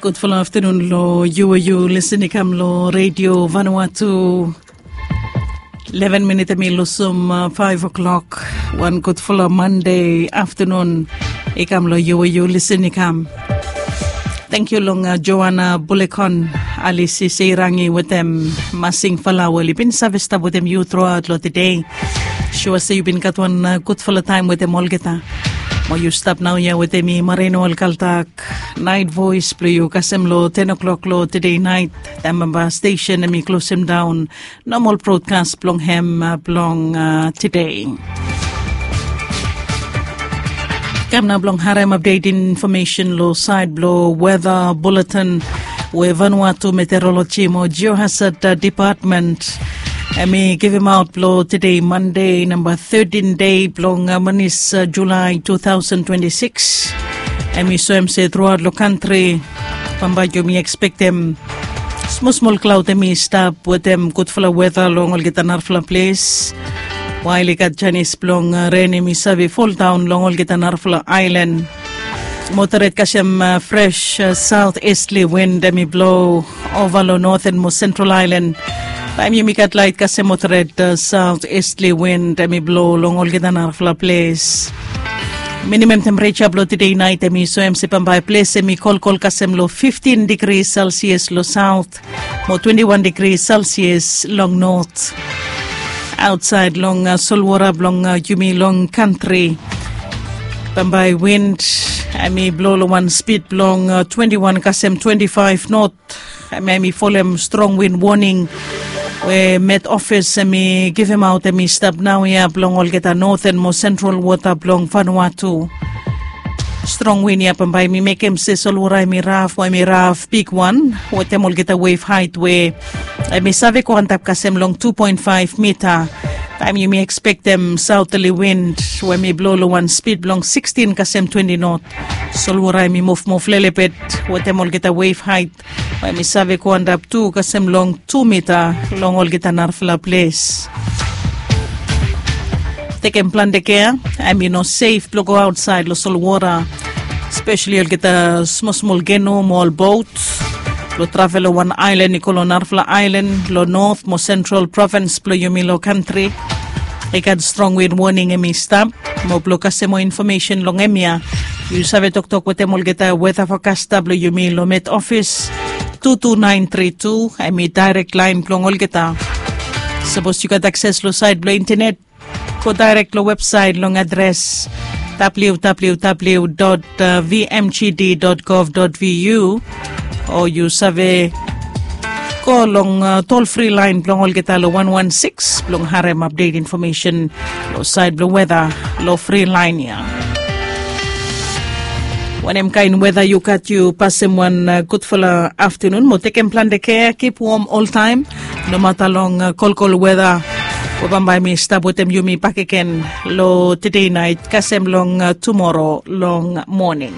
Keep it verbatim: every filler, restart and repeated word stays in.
Gudfala aftanun long yu we yu lisin i kam long redio Vanuatu. Eleven minit em i lusim uh, five o'clock. Wan gudfala Monday aftanun i kam long yu we yu lisin i kam. Thank you long uh, Joanna Bulekon, Alisi Seirangi wetem Masing Fala we oli bin save stap wetem yu throughout long today. Sure se yu bin gat wan uh, gudfala taim wetem olgeta. Mo yu stap nau ia wetem mi Marino Alkaltak. Night voice blong yu kasem long ten o'clock long today night. Taim bamba station em i closem down normal broadcast blong hem uh, blong uh, today. Kam na blong harem update information lo side blo weather bulletin we Vanuatu Meteorology mo Geohazard uh, Department em i givim out blo today Monday number thirteen day blong uh, manis uh, July two thousand twenty-six. Em i soem se throughout lo country bambae yumi expectem smol smol cloud em i stap wetem gudfala weather long olgeta narafala ples. Wael i gat janis blong uh, ren em i save fall down long olgeta narafala island. Moderate kasem uh, fresh uh, south easterly wind em i blow over lo northern mo central island. Taim yumi gat light kasem moderate uh, south easterly wind em i blow long olgeta narafala ples. Minimum temperature blo today night em i soem se bambae ples em i kolkol kasem lo fifteen degree celsius lo south mo twenty-one degree celsius long north. Outside long uh, solwara blong uh, yumi long country bambae wind em i blow lo wan speed blong uh, twenty-one kasem twenty-five north. Em i folem strong win warning we met ofis em i givim aut em i stap nau ya blong olgeta northern mo central wota blong Vanuatu. Strong win ya bambae mi mekem se solwara em i raf we em i raf bigwan wetem olgeta wave hait we em i save go antap kasem long two point five mita. Taim yumi ekspektem sautali wind we em i blo long wan spid blong sixteen kasem twenty not. Solwara em i mufmuf lelebet wetem olgeta wave hait we mi save go antap tu kasem long tu mita long olgeta narafala ples. Tekem plante kea em i no sef blong go autsaed long solwara, spesali olgeta smosmol geno mo ol bot blong travel long wan aelan i go long narafala aelan long not mo sentral provins blong yumi long kantri. I gat strong win woning em i stap mo blong kasem moa infomesen long em ya, yu save toktok wetem olgeta weta fokasta blong yumi long met ofis. Two two nine three two em i daerek laen blong olgeta. Sapos yu gat akses long saed blong intenet, go daerek long websaet long adres www vmgd gov vu, o yu save go long tol fri laen blong olgeta long wan wan sikis blong harem apdet infomesen long saed blong weta long fri laen ya. Wanem kaen weta yu gat, yu pasem wan gudfala aftanun mo tekem plante kea, kip wom oltaem. Nomata long kolkol weta we bambae mi stap wetem yumi bakegen long tedei naet kasem long tumoro long moning.